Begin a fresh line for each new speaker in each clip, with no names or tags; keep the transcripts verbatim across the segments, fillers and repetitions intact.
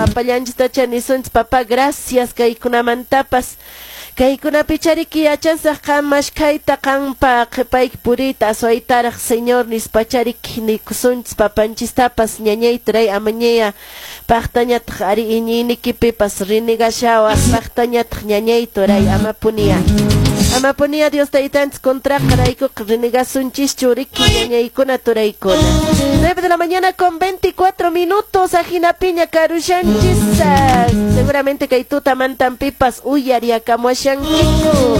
Papallanchistacha nisunchis, papá, gracias kaykunamantapas. Kaykunapi chariki yachasaq qan mashkhayta, qanpa qhipayki puriyta aswaytaraq, Señor, nispachariki nikusunchis papanchistapas. Ñañay, turay, amañaya paqtañataq ari iñiynikipipas renegashawaq, paqtañataq, ñañay, turay, amapuniya. Amapunía Dios taytanchis contraqa raykuqa renegasunchis riki, ñañaykuna, turaykuna. nueve de la mañana con veinticuatro minutos, ajinapiña karushanchis. Seguramente kay tutamantanpipas uyariakamuashankiku.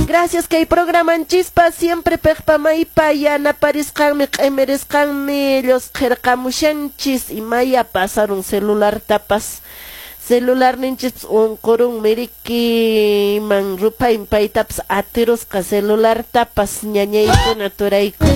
Gracias kay programanchispa siempre piqpa maypa yanaparisqanmi, q'imirisqanmi llusqirqamushanchis. Imaya pasarun celulartapas. Celularninchis unqurunmi riki, man ruphayn paytapas atirusqa celulartapas, ñañaykuna, turaykuna.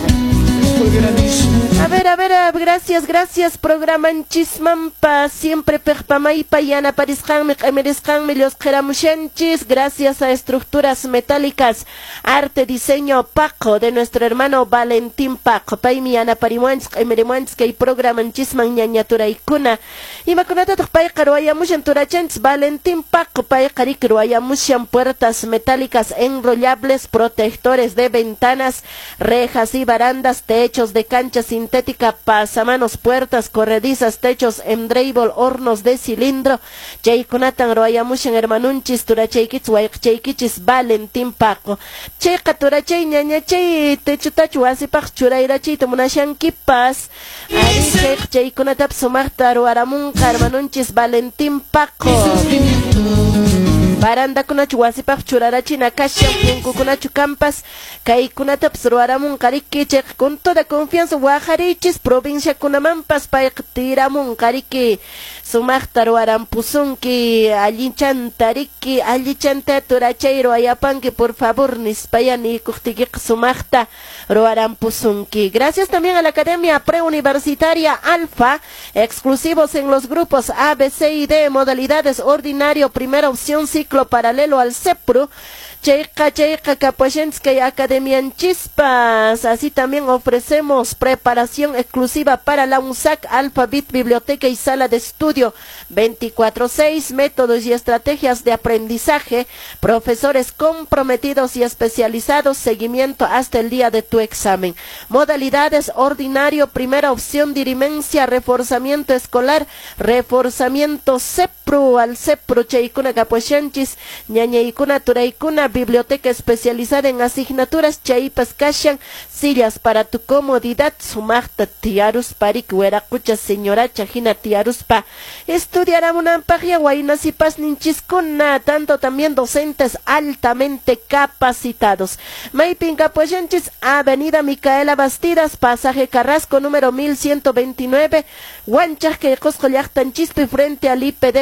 A ver, a ver, gracias, gracias, programanchismanpa siempre piqpa maypa yanaparisqanmi, q'imirisqanmi llusqiramushanchis. Gracias a Estructuras Metálicas Arte Diseño Paco, de nuestro hermano Valentín Paco. Paymi yanaparimuanchis, q'imirimuanchis kay programanchisman, ñaña, turaykuna. Imakunatataq payqa ruwayamushan, turachanchis Valentín Paco? Payqa riki ruwayamushan puertas metálicas enrollables, protectores de ventanas, rejas y barandas, techos de cancha sintética, pasamanos, puertas corredizas, techos en drywall, hornos de cilindro. Chaykunatan ruwayamushan hermanunchis, turachaykichis, wayqichaykichis Valentín Paco. Chayqa, turachay, ñañachay, techotachu wasipaq churayrachiyta munashankipas. Ari chayqa chaykunatapas sumaqta ruwaramunqa hermanunchis Valentín Paco. Barandakunachu wasipaq churarachina kashan, punkukunachu kampas, kaykunatapas ruwaramunqa riki. Chayqa con toda confianza waqarichis, provinciakunamanpas payqa tiramunqa riki, sumaqta ruwarampusunki allinchanta riki. Allichanta, turachay, ruwayapanki por favor nispaya niykuqtiykiqa sumaqta ruwarampusunki. Gracias también a la Academia Preuniversitaria Alfa, exclusivos en los grupos A, B, C y D, modalidades ordinario, primera opción, ciclo paralelo al CEPRU. Chayqa chayqa kapuashanchis kay academianchispas. Así también ofrecemos preparación exclusiva para la UNSAAC, Alphabet, biblioteca y sala de estudio veinticuatro seis, métodos y estrategias de aprendizaje, profesores comprometidos y especializados, seguimiento hasta el día de tu examen. Modalidades ordinario, primera opción, dirimencia, reforzamiento escolar, reforzamiento CEPRU, al CEPRU, chaykuna kapuashanchis, ñañaykuna, turaykuna, biblioteca especializada en asignaturas, chaypas kashan, sillas para tu comodidad, sumaqta tiyaruspa riki wiraqucha señoracha hina tiyaruspa estudiaramunanpaqya wayna sipasninchiskuna, tanto también docentes altamente capacitados. Maypin kapuashanchis? Avenida Micaela Bastidas, pasaje Carrasco, número mil ciento veintinueve, Huanchac, kay Qosqo llaqtanchispi, frente al I P D.